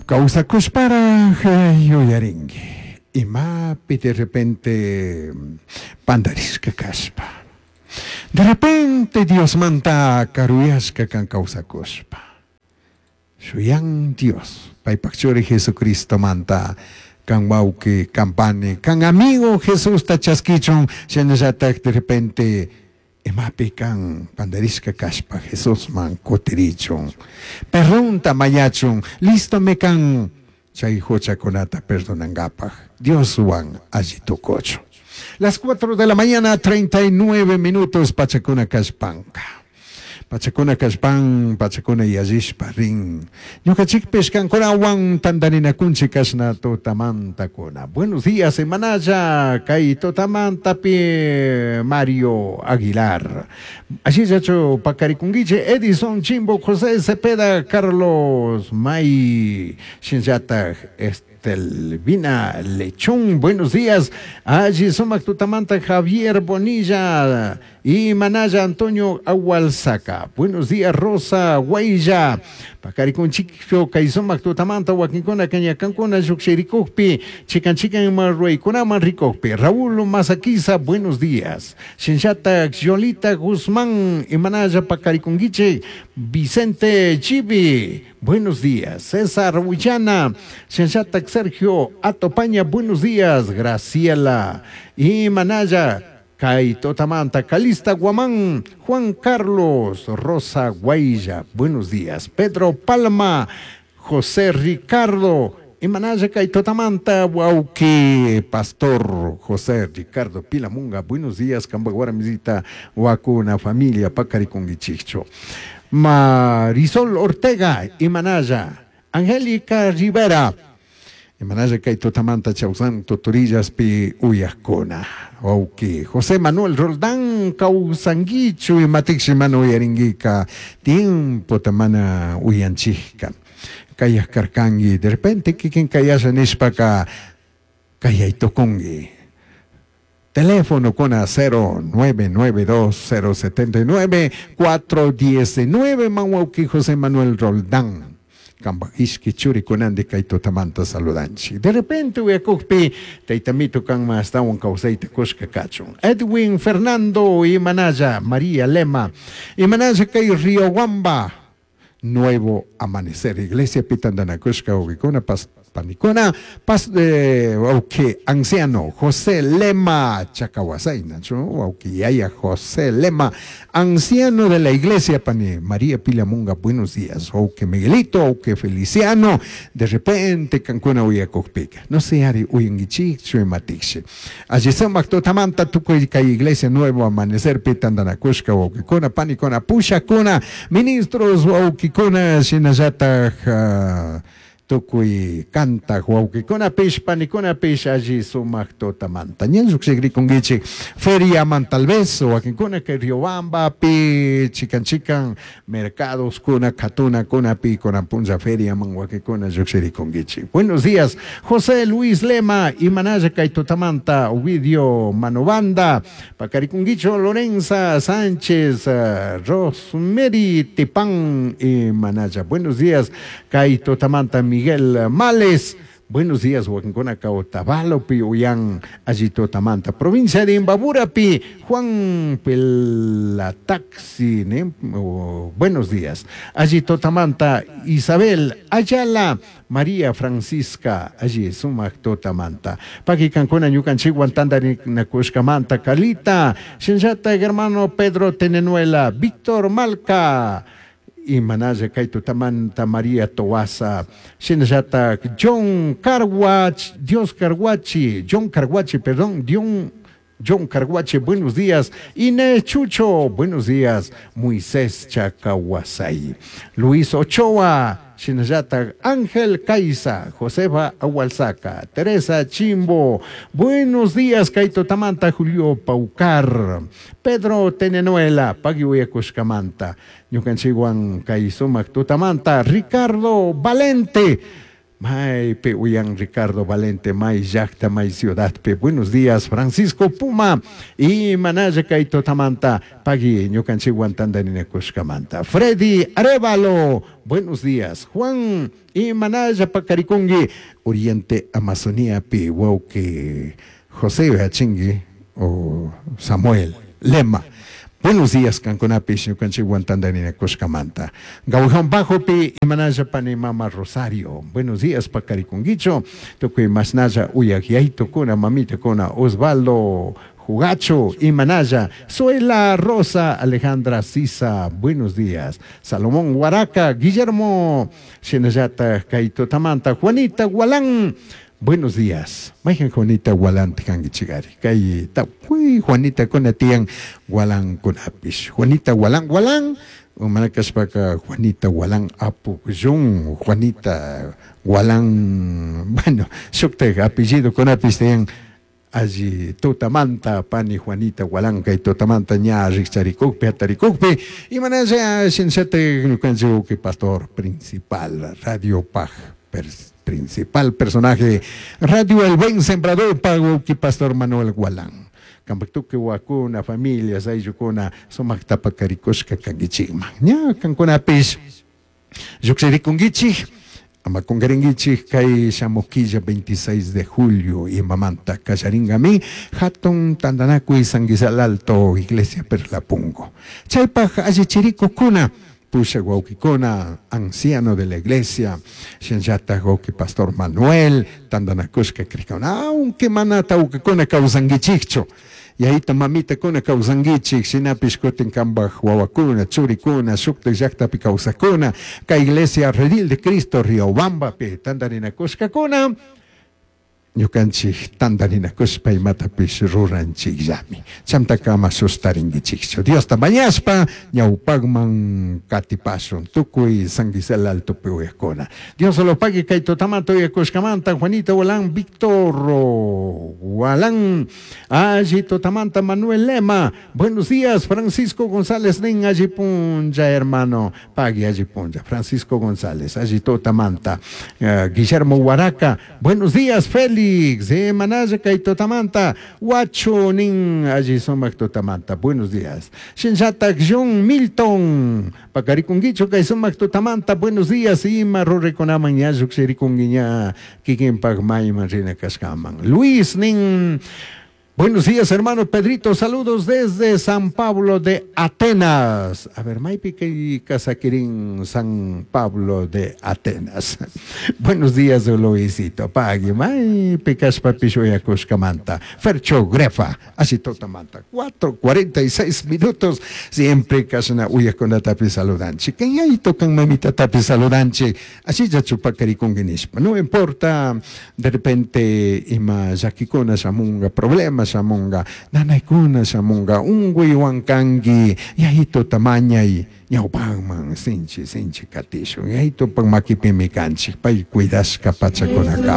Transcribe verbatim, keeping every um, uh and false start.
Kawsakushparaj yuyarinki imapi de repente pandarishka kashpa. De repente Diosmanta karuyashka kan kawsakushpa. Shuyan Dios, paypak churi Jesucristomanta kan wawki, kan pani, kan amigo Jesusta chaskichun, shinallatak de repente imapi kan pandarishka kashpa Jesusman kutirichun. Perdonta mañachun, listomi kan chay huchakunata perdonankapaj Dioswan alli tukuchun. Las cuatro de la mañana, treinta y nueve minutos, pachakuna kashpanka. Pachakuna kashpan, pachakuna yallishpa rin. Ñukanchikpish kankunawan tantarinakunchik kashna tutamantakuna. Buenos días, semanalla, kay tutamantapi Mario Aguilar. Allillachu pakarikunkichik Edison Chimbo, José Cepeda, Carlos May, shinllatak Estelvina Lechón, buenos días. Allí sumak tutamanta Javier Bonilla y Manaya Antonio Agualzaca. Buenos días, Rosa Guaya. Pakaricunchicho, kay sumak tutamanta, wakinkuna, kañakankuna, lluqshirikukpi, chikan chikan marruaykunaman rikukpi. Raúl Mazaquiza, buenos días. Shinllata Yolita Guzmán y Manaya Pakaricunguiche, Vicente Chibi, buenos días. César Huillana, Shinllata Sergio Atopaña, buenos días. Graciela y Manaya, Kay Totamanta, Calista Guamán, Juan Carlos, Rosa Guaya, buenos días. Pedro Palma, José Ricardo, y Manaya Kay Totamanta, Wauki, Pastor José Ricardo Pilamunga, buenos días, Cambaguara Misita, Huacuna, familia, Pacariconguichicho. Marisol Ortega, y Manaya, Angélica Rivera, y Manaya Kay Totamanta, Chausan, Totorillas, Pi, Uyascona. Wauki, José Manuel Roldán, Causanguichu, y Matixi Manu Yaringuica, tiempo tamana uyanchijka. Kayas karkangi, de repente kikin kayasha nishpaka, kayaytokungi. Teléfono con a cero nueve nueve dos cero setenta y nueve cuatro diecinueve, Manwauki José Manuel Roldán. Kamba ishki churi kunandi kay tutamanta saludanchi. De repente uyakukpi taytamito kanma astawan kawsayta kushka kachun. Edwin Fernando y Manaya María Lema y Manaya kay Riobamba. Nuevo Amanecer. Iglesia Pitandanakushka Ubikuna pas Panicona, pas de eh, anciano José Lema Chacahuasay, Nacho, Yaya José Lema, anciano de la iglesia Pani María Pilamunga, buenos días, que Miguelito, que Feliciano, de repente Cancuna Uyacocpica, no sé, Ari Uyanguichi, Chuematixi. Allí se Mactotamanta, Tucuy, Iglesia Nuevo Amanecer, Pitandanakushka, Uquicona, Panicona, Pushacona, ministros, Uquicona, Shinayata, tukuy kanta wawkikunapish panikunapish alli sumak tutamanta. Ñan lluqshikrikunkichik feria man tal vez wakinkuna kay Riobambapi chikan chikan mercados kuna katuna kunapi kunan punlla feria man wakinkuna lluqshirikunkichik. Buenos días, José Luis Lema y Manaya kay tutamanta Ovidio Manobanda, Pacarikunguicho Lorenza Sánchez, uh, Rosemary Tipán y Manaya. Buenos días, kay tutamanta Miguel Males. Buenos días, Huancona Otavalopi, Uyan, Allito Tamanta, provincia de Imbaburapi, Juan Pelataxi, ¿eh? Oh, buenos días, Allito Tamanta, Isabel Ayala, María Francisca, allí Sumac Totamanta, Paqui Cancuna, Ñucanchiguan, Tandari, Nacushcamanta, Calita, Shinjata, hermano Pedro Tenenuela, Víctor Malca, y Manaya Kaito Tamanta María Toasa, Shinjata John Carwach, Dios Carguachi, John Carguachi, perdón, Dion, John Carguachi, buenos días. Inés Chucho, buenos días. Moisés Chacahuasay, Luis Ochoa, Shinjata Ángel Caiza, Josefa Agualzaca, Teresa Chimbo, buenos días, Kaito Tamanta, Julio Paucar, Pedro Tenenuela, Paguiuyacushcamanta, Ñucanchiguan Kaisumac Tutamanta, Ricardo Valente, Maypi uyan Ricardo Valente, may llaqta, may ciudadpi. Buenos días, Francisco Puma. Y manalla kay tutamanta, pagui ñukanchikwan tantarinakushkamanta. Freddy Arevalo, buenos días. Juan, y manalla pakarikunki, Oriente Amazoniapi, wawki José Achingui o Samuel Lema. Buenos días, kankunapish ñukanchikwan tantarinakushkamanta. Gaujan Bajopi, imanalla pani mama Rosario. Buenos días, pakarikunkichu. Tukuy masnalla uyak mamitakuna, Osvaldo Jugacho, Imanaya, Suela Rosa, Alejandra Sisa, buenos días. Salomón Huaraca, Guillermo, Shinallata, Kaito Tamanta, Juanita Gualán, buenos días. Mayhan Juanita Gualán tikankichigari. Kay tukuy Juanita kuna tiyan Gualán kunapish. Juanita Gualán Gualán, mana kashpaka Juanita Gualán Apukyun, Juanita Gualán, bueno, shuktak apellido kunapish tiyan alli tutamanta pani Juanita Gualán kay tutamanta ña rikcharikukpi hatarikukpi imanalla shinllatak ñukanchik pastor principal Radio Paj principal personaje Radio El Buen Sembrador pago pastor Manuel Gualán kampak tukuy wakuna familias ayllukuna sumakta pakarikushka kankichikman ña kankunapish lluqshirikunkichik ama kunkarinkichik kay shamuq killa veintiséis de julio imamanta kallaringami hatun tantanakuy San Guisal Alto Iglesia Perlapungo chaypaq allichirikukuna pusha wawkikuna anciano de la iglesia shinllatak wawki pastor Manuel tantanakushka krikuna aunque mana tawkakuna kawsankichikchu yayita mamitakuna kawsankichik shinapish kutin kanpak wawakuna churikuna shuktak llaktapi kawsakuna kay iglesia Redil de Cristo Riobambapi tantarinakushkakuna ñukanchik tantarinakushpa imatapish ruranchikllami chantaka ama sustarinkichikchu Diosta mañashpa ñawpakman katipashun tukuy San Guisal Altopi uyakuna Dios lo pague kay tutamanta uyakushkamanta Juanita Gualán Víctor Gualán alli tutamanta Manuel Lema buenos días Francisco González nin alli punlla hermano pagui alli punlla Francisco González alli tutamanta uh, Guillermo Huaraca buenos días Félix de Manaya kay tutamanta Huacho nin alli sumak tutamanta buenos días Shinllatak John Milton pakarikunkichu kay sumak tutamanta buenos días ima ruraykunaman ña lluqshirikunki ña kikinpak mayman rina kashkaman Luis nin buenos días, hermano Pedrito. Saludos desde San Pablo de Atenas. A ver, maypi kay kasakirin San Pablo de Atenas. Buenos días, Luisito. Pagui, maypi kashpapish uyakushkamanta. Fercho Grefa, así tutamanta. Cuatro cuarenta y seis minutos. Siempre kashna uyakunatapi saludanchik. Kayayto kan mamitatapi saludanchik. Así ya chupakarikunki nishpa. No importa, de repente, ima llakikuna shamunga, problemas shamunga, nanaykuna shamunga, unquywan kanki, yayito tamañay, ñawpaqman sinchi sinchi katishun, yayitupak makipimi kanchik, pay cuidashka pachakunakama.